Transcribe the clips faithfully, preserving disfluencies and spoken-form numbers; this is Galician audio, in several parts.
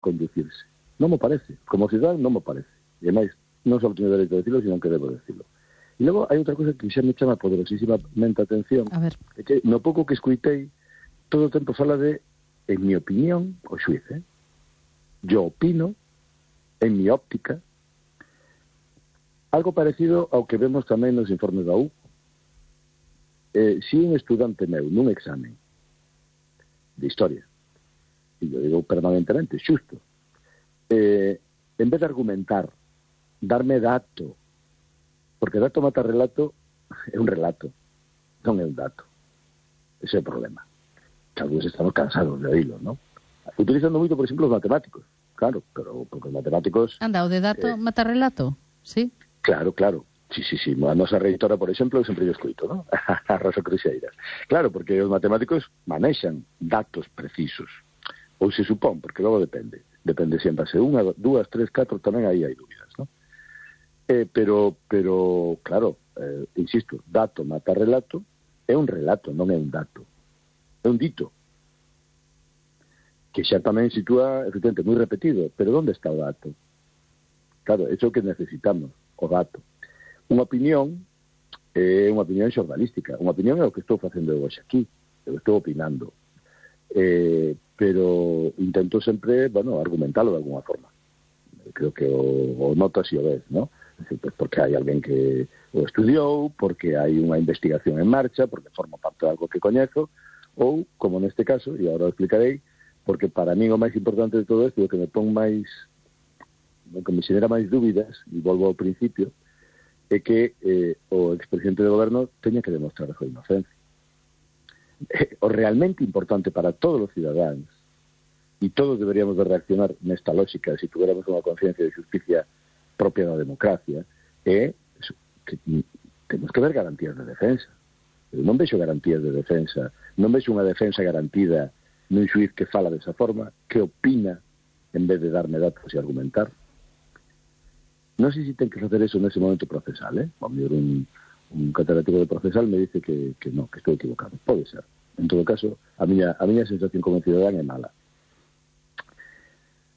conducirse. Non me parece. Como cidadán non me parece. E ademais, non só teño dereito a decirlo, sino que debo decirlo. E logo hai outra cosa que xa me chama poderosísimamente a atención, A ver. é que no pouco que escuitei, todo o tempo fala de, en mi opinión, o xuiz, eh? Yo opino, en mi óptica, algo parecido ao que vemos tamén nos informes da U. Eh, si un estudante meu nun examen de historia, e eu digo permanentemente, xusto, eh, en vez de argumentar, darme dato, porque dato mata relato, é un relato, non é un dato. Ese é o problema. Talvez estamos cansados de oírlo, ¿no? Utilizando moito, por exemplo, os matemáticos. Claro, pero porque os matemáticos... Anda, o de dato eh, mata relato, sí? Claro, claro. Sí, sí, sí. A nosa reitora, por exemplo, eu sempre yo escuito, ¿no? A Rosa Cruxeiras. Claro, porque os matemáticos manexan datos precisos. Ou se supón, porque logo depende. Depende se en base unha, dúas, tres, catro, tamén aí hai dúbidas, ¿no? Eh, pero, pero, claro, eh, insisto, dato mata relato, é un relato, non é un dato. É un dito. Que xa tamén sitúa, efectivamente, moi repetido. Pero onde está o dato? Claro, é o que necesitamos, o dato. Unha opinión é unha opinión xornalística. Unha opinión é o que estou facendo hoxe aquí. Eu estou opinando. Eh, pero intento sempre, bueno, argumentalo de alguna forma. Creo que o, o notas e o ves, ¿no? Pues porque hai alguén que o estudiou, porque hai unha investigación en marcha, porque forma parte de algo que coñezo, ou, como neste caso, e agora o explicarei, porque para mí o máis importante de todo isto, o que me pon máis, o que me xenera máis dúbidas, e volvo ao principio, é que eh, o expresidente do goberno teña que demostrar a súa inocencia. Eh, o realmente importante para todos os cidadáns, e todos deberíamos de reaccionar nesta lógica, se tuviéramos unha conciencia de justicia propia da democracia, é que temos que ver garantías de defensa. Eu non vexo garantías de defensa, non vexo unha defensa garantida nun xuiz que fala desa forma, que opina en vez de darme datos e argumentar. Non sei se ten que facer eso nese momento procesal, eh? A mellor un, un catedrático de procesal me dice que, que non, que estou equivocado. Pode ser. En todo caso, a miña, a miña sensación como cidadán é mala.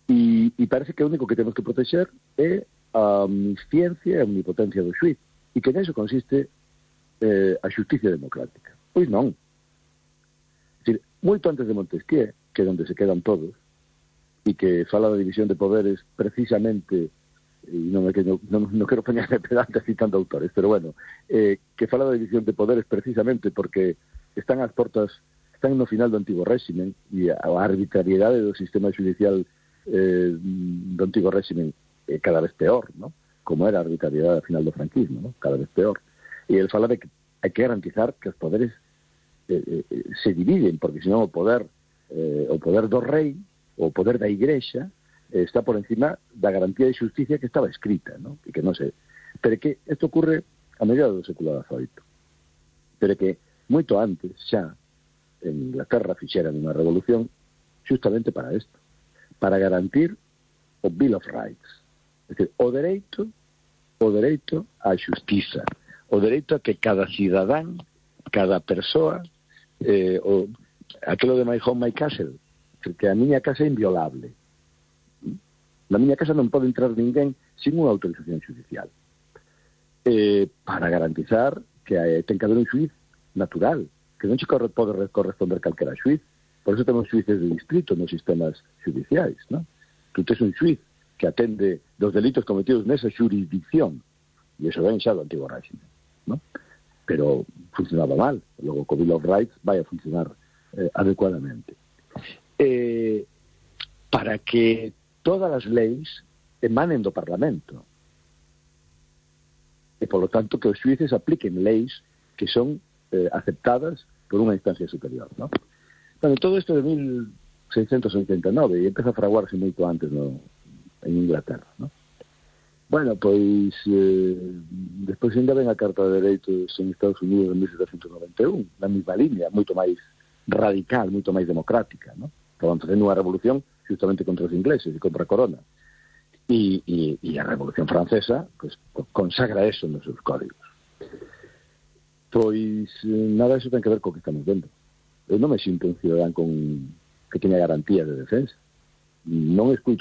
E, e parece que o único que temos que protexer é a omnisciencia e a omnipotencia do xuiz, e que neso consiste eh, a xusticia democrática. Pois non. É dicir, moito antes de Montesquieu, que é onde se quedan todos, e que fala da división de poderes precisamente, e non, é que non, non, non quero poñerme pedante citando autores, pero bueno, eh, que fala da división de poderes precisamente porque están ás portas, están no final do antigo réximen, e a arbitrariedade do sistema judicial eh, do antigo réximen eh, cada vez peor, ¿no? Como era a arbitrariedade ao final do franquismo, ¿no? Cada vez peor. E ele fala de que hai que garantizar que os poderes eh, eh, se dividen, porque senón o poder eh, o poder do rei, o poder da igrexa, eh, está por encima da garantía de xusticia que estaba escrita, ¿no? E que non se... Pero que isto ocurre a mediados do século dezaoito. Pero que moito antes, xa, en Inglaterra fixeran unha revolución justamente para isto, para garantir o Bill of Rights. É dicir, o dereito, o dereito á xustiza, o dereito a que cada cidadán, cada persoa, eh, o, aquilo de my home, my castle, que a miña casa é inviolable. Na miña casa non pode entrar ninguén sin unha autorización judicial. Eh, para garantizar que hai, ten que haber un xuiz natural, que non che corre, pode corresponder calquera xuiz. Por eso temos xuices de distrito nos sistemas judiciais, ¿no? Tú tes un xuiz que atende dos delitos cometidos nesa xurisdicción, e iso ven xa do antigo régimen, ¿no? Pero funcionaba mal. Logo, co Bill of Rights vai a funcionar eh, adecuadamente. Eh, para que todas as leis emanen do Parlamento. E, polo tanto, que os xuíces apliquen leis que son eh, aceptadas por unha instancia superior, ¿no? Bueno, todo isto de mil seiscentos oitenta e nove, e empeza a fraguarse moito antes no, en Inglaterra, ¿no? Bueno, pois eh, despois ainda ven a Carta de Dereitos en Estados Unidos en mil setecientos noventa e un, na mesma línea, moito máis radical, moito máis democrática, ¿no? Estaban facendo unha revolución justamente contra os ingleses e contra a corona. E, e, e a Revolución Francesa pues, consagra eso nos seus códigos. Pois nada disso ten que ver co que estamos vendo. Eu non me sinto un cidadán con que teña garantía de defensa. non escuito